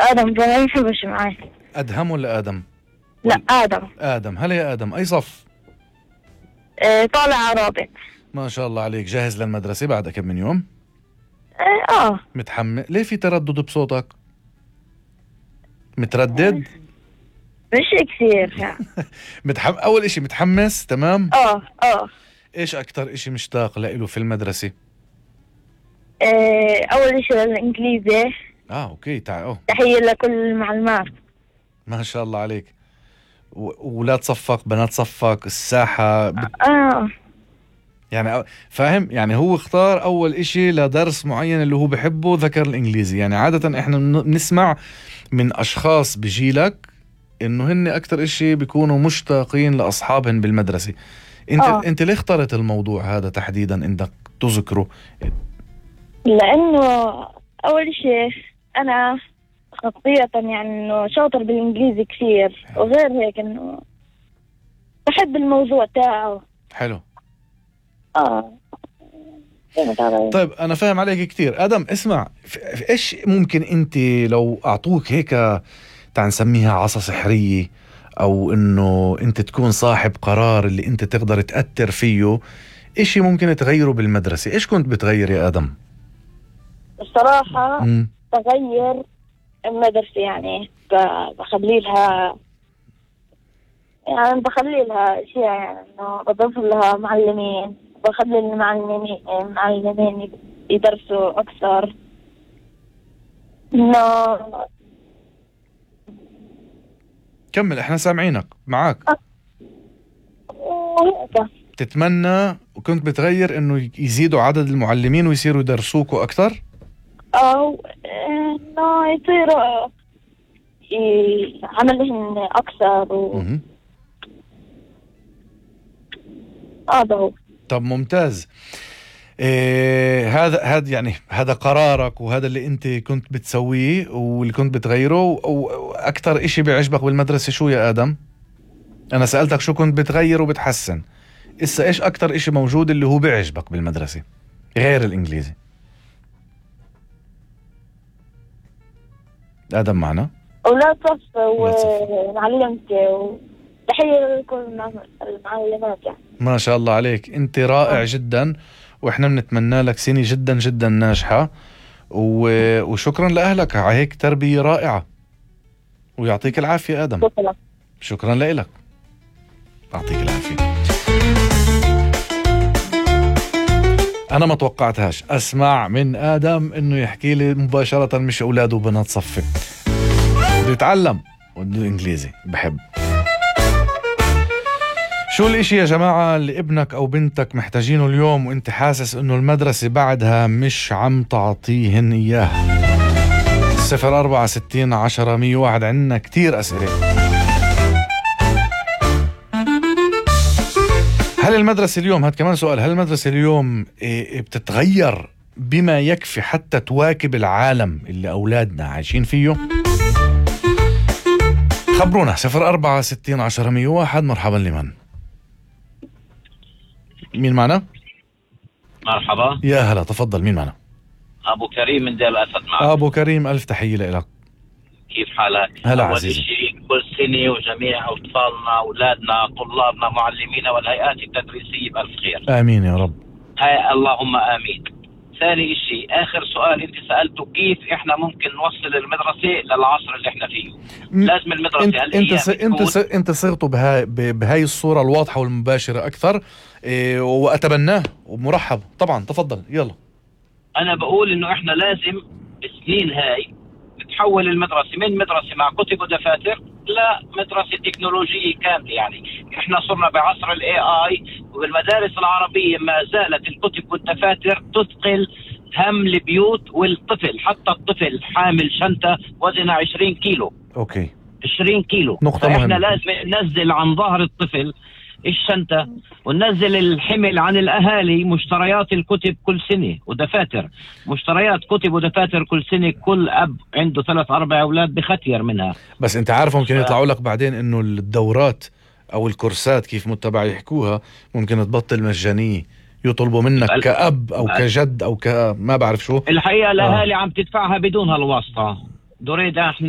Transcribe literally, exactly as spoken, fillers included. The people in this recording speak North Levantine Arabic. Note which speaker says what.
Speaker 1: آدم ما يحبش معي.
Speaker 2: أدهم ولا آدم؟
Speaker 1: لا آدم.
Speaker 2: آدم. هلا يا آدم، أي صف؟
Speaker 1: آه طالع رابع.
Speaker 2: ما شاء الله عليك. جاهز للمدرسة بعد كم من يوم؟
Speaker 1: آه, آه.
Speaker 2: متحمس؟ ليه في تردد بصوتك؟ متردد؟
Speaker 1: مش كثير يعني.
Speaker 2: متحم... أول إشي متحمس تمام؟
Speaker 1: آه آه.
Speaker 2: إيش أكتر إشي مشتاق لإله في المدرسة؟
Speaker 1: آه أول شيء الإنجليزي.
Speaker 2: آه أوكي تعال. أوه.
Speaker 1: تحية لكل المعلمات.
Speaker 2: ما شاء الله عليك. وولاد صفك بنات صفك الساحة بت...
Speaker 1: آه
Speaker 2: يعني فاهم، يعني هو اختار أول إشي لدرس معين اللي هو بحبه، ذكر الإنجليزي. يعني عادة إحنا بنسمع من أشخاص بجيلك إنه هن أكتر إشي بيكونوا مشتاقين لأصحابهم بالمدرسة. أنت
Speaker 1: آه.
Speaker 2: أنت ليه اخترت الموضوع هذا تحديدا إنك تذكره؟
Speaker 1: لأنه أول شيء أنا خطية يعني إنه شاطر بالإنجليزي كثير، وغير هيك إنه بحب الموضوع تاعه.
Speaker 2: حلو.
Speaker 1: آه.
Speaker 2: طيب أنا فاهم عليك كتير. آدم اسمع، إيش ممكن أنت لو أعطوك هيك تعال نسميها عصا سحرية، أو إنه أنت تكون صاحب قرار اللي أنت تقدر تأثر فيه، إشي ممكن تغيره بالمدرسة، إيش كنت بتغير يا آدم؟
Speaker 1: الصراحة
Speaker 2: م.
Speaker 1: بغير المدرسة، يعني بخلي لها يعني بخلي لها أشياء، يعني إنه بضيف لها معلمين، بخلي المعلمين معلمين يدرسوا أكثر. إنه
Speaker 2: كمل احنا سامعينك معاك.
Speaker 1: وهيك
Speaker 2: تتمنى وكنت بتغير انه يزيدوا عدد المعلمين ويصيروا يدرسوكوا اكثر،
Speaker 1: او انه يصيروا عملهم اكثر و... هذا هو.
Speaker 2: طب ممتاز. إيه هذا هذا يعني هذا قرارك وهذا اللي انت كنت بتسويه واللي كنت بتغيره. واكثر اشي بيعجبك بالمدرسة شو يا آدم؟ انا سألتك شو كنت بتغير وبتحسن، إسا ايش اكثر اشي موجود اللي هو بيعجبك بالمدرسة غير الانجليزي؟ آدم معنا؟
Speaker 1: أولاد صف ومعلمتي وتحية لكل المعلمات. يعني
Speaker 2: ما شاء الله عليك، انت رائع جدا، واحنا بنتمنى لك سنة جدا جدا ناجحة، و... وشكرا لأهلك على هيك تربية رائعة، ويعطيك العافية آدم.
Speaker 1: شكرا.
Speaker 2: شكرا لك، يعطيك العافية. أنا ما توقعتهاش أسمع من آدم إنه يحكي لي مباشرة مش أولاده وبنات صفي، بده يتعلم وبده إنجليزي بحب. شو الاشي يا جماعة اللي ابنك او بنتك محتاجينه اليوم وانت حاسس انه المدرسة بعدها مش عم تعطيهن اياه؟ صفر اربعة ستين عشرة مية واحد. عنا كتير اسئلة. هل المدرسة اليوم، هاد كمان سؤال، هل المدرسة اليوم بتتغير بما يكفي حتى تواكب العالم اللي اولادنا عايشين فيه؟ خبرونا. صفر اربعة ستين عشرة مية واحد. مرحبا. لمن؟ مين معنا؟
Speaker 3: مرحبا.
Speaker 2: يا هلا، تفضل. مين معنا؟
Speaker 3: أبو كريم من دير الأسد معك.
Speaker 2: أبو كريم، ألف تحية لك.
Speaker 3: كيف حالك؟
Speaker 2: هلا
Speaker 3: أول
Speaker 2: عزيزي.
Speaker 3: شيء كل سنة وجميع أطفالنا أولادنا طلابنا معلمينا والهيئات التدريسية بألف خير.
Speaker 2: آمين يا رب.
Speaker 3: هاي اللهم آمين. ثاني شيء، آخر سؤال أنت سألته، كيف إحنا ممكن نوصل المدرسة للعصر اللي إحنا فيه؟ م... لازم المدرسة
Speaker 2: انت
Speaker 3: هل
Speaker 2: انت
Speaker 3: هي
Speaker 2: س... انت س... انت صرتوا بهاي بهاي الصورة الواضحة والمباشرة أكثر، إيه، وأتبناه ومرحب طبعا. تفضل يلا.
Speaker 3: أنا بقول إنه إحنا لازم بالسنين هاي نتحول المدرسة من مدرسة مع كتب ودفاتر لمدرسة تكنولوجية كاملة. يعني إحنا صرنا بعصر ال إيه آي، وبالمدارس العربية ما زالت الكتب والدفاتر تثقل هم البيوت والطفل. حتى الطفل حامل شنطة وزنها عشرين كيلو.
Speaker 2: أوكي.
Speaker 3: عشرين كيلو.
Speaker 2: نقطة
Speaker 3: فإحنا
Speaker 2: مهمة.
Speaker 3: لازم ننزل عن ظهر الطفل الشنطة وننزل الحمل عن الأهالي. مشتريات الكتب كل سنة ودفاتر، مشتريات كتب ودفاتر كل سنة. كل أب عنده ثلاث أربع أولاد بختير منها.
Speaker 2: بس أنت عارف ممكن
Speaker 3: ف...
Speaker 2: يطلعوا لك بعدين إنه الدورات أو الكورسات كيف متبع يحكوها ممكن تبطل مجانية، يطلبوا منك بل... كأب أو بل... كجد أو ك ما بعرف شو.
Speaker 3: الحقيقة الأهالي آه. عم تدفعها بدون هالواسطة. دريد احنا